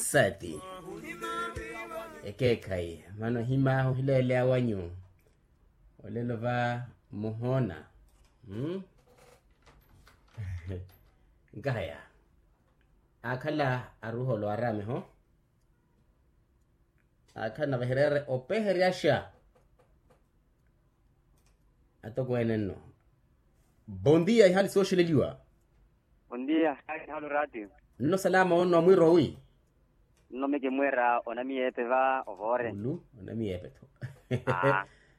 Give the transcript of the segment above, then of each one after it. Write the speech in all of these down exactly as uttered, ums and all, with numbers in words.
Sati. Ekeekhayi. Mano himaahu hileeleya wanyu. Olelo va muhoona. Nkahaya. Aakhala aruholo arameho. Aakhala na vahireere opeheryaxa. Atokweene nno. Bondia ihali sooxeleliwa. Bondia ihali halo ratio. Nno salama onno mwiiro wi. Nno mekimweera onamiyeepe va ovoore. Ulu onamiyeepe tho.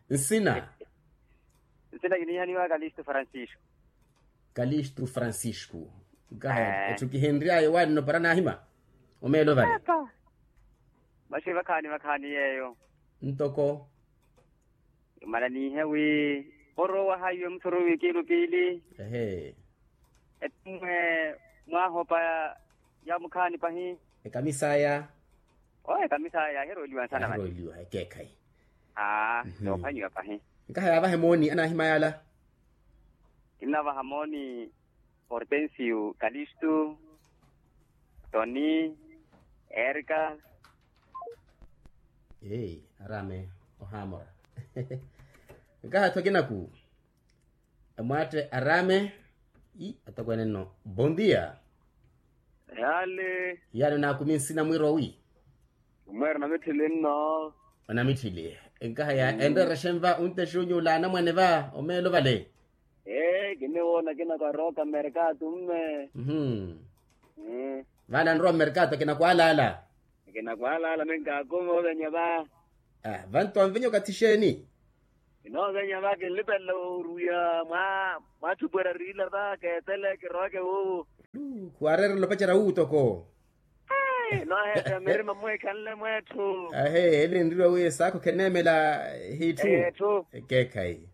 Nsina. Nsina kiniihaniwa kalisto francisco. Kalisto francisco. Nkaha etthu kihinry'ayo waanno para naahima. Omeelo vale. Maxi vakhaani vakhaani yeeyo. Ntoko. Imananiihe wi orowaha iwe muthuru wikiilu piili. Ehe. Ettimwe mwaahopa ya mukhaani pahi. Ekamisaya. O ekamisaya yahirooliwa nsana mani. Yahirooliwa ekeekhayi. Aa. Yoophwanyiwa pahi. Nkaha yaavahe mooni anaahima yaala. Kinnavaha mooni. Hortensio kalisto, toni, erika. Eei araame ohaamora. Nkaha tho kinaku. Amwaatte araame. Atokweene nno bondia. Yaale. Yaale onaakumi nsina mwiiro wi. Mweera onamitthili nno. Onamitthili. Nkaha ya enreerexe nva untexe unyuula anamwane va omeelo vale. Ee kiniwoona akina kwarooka mmerkaato mme. Vale anrowa mmerkaato akina kwaalaala. Akina kwaalaala minkaakume ovenya va. Vanto anvenya okathi exeeni? Kinoovenya va kinlipelela oruwiha mwa mwaatthupwera riila va keetele kiroweke wuuwo. Khuwareerela opacerya wuuwo toko. Nooheeteya mirima mweekhanle mweetthu. Ahe ele nriwa wi esaakho kheneemela hiitthu. Ekeekhayi.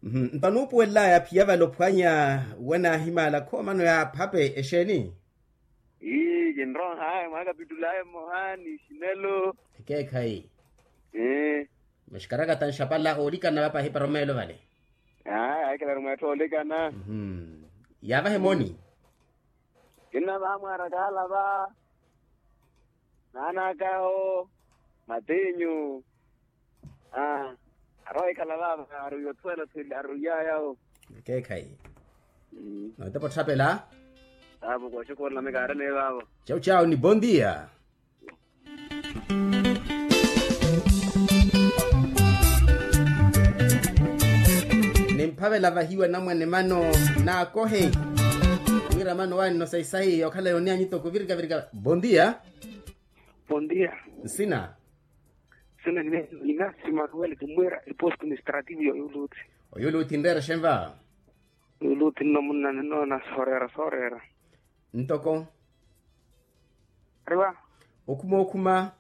Nto anuupuwelelaya aphiya vale ophwanya wanaahimala khoomano yaaphape exeeni? Ii kinroh'aya mwaakapitul'aya mmoha ni xinelo. Ekeekhayi. Maxikarakata nxapala oolikana va pahi para omeelo vale. Aa ahikhalaru mweettha oolikana. Yaavahe mooni. Kinnavaha mwaara kaala va naanakaho matinyu. Aa arowa ikhala vaava aruiya othuwela thwili aruiyaya. Ekeekhayi. Notepa otthapela. Avo kooxukhurela mikaarene vaavo. Cau cau ni bondia. Nimphavela vahiwa namwane mano naakohe. Wira mano wanno sayisayi yookhala yooniyanyuto kuvirika virika bondia. Bondia. Nsina. Nsina ninasimaka wele kimwira eposto administrativo yoyuluthi. Oyuluthi nreera xenva? Oyuluthi nno munna ninnoona sooreera sooreera. Ntoko? Ariwa. Okhuma okhuma.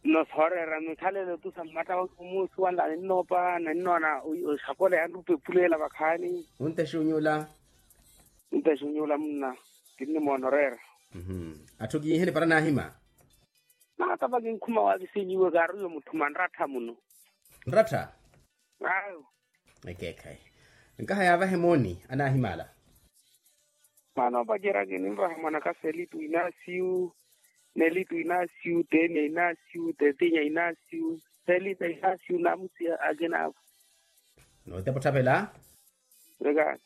Nno sooreera mikhalelo tu sa mmatta wa kumuusuwanla ninnoopa na ninnoona oxakola yanrupa epuleela vakhaani. Ontexa onyuula. Ontexa onyuula munna. Kinnimoona oreera. Atthu kiiheni para naahima. Maakava kinkhuma wakisinyiwe kaariyo mutthu manrattha muno. Nrattha? Ayo. Ekeekhayi. Nkaha yaavahe mooni anaahimala. Mano pacerya kininvaha mwanaka felito inasiyu, nelito inasiyu tenia inasiyu tetinya inasiyu, felita inasiyu namusi akina avo. Nootepa otthapela. Vekani.